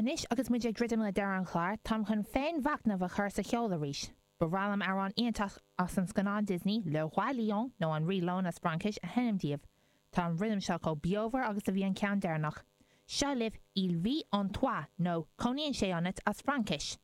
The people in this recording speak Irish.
Anois agus muid ag druidim le deireadh an chláir, táim chun féinmhachnamh a chur sa cheol arís. Ba bhreá liom amhrán iontach as an scannán Disney, Le Roi Lion, nó An Rí Leon as Fraincis, a sheinm daoibh. Tá an rithim seo chomh beomhar agus a bhí an ceann deireanach. Seo libh Il vit en toi, nó Cónaíonn sé ionat as Fraincis.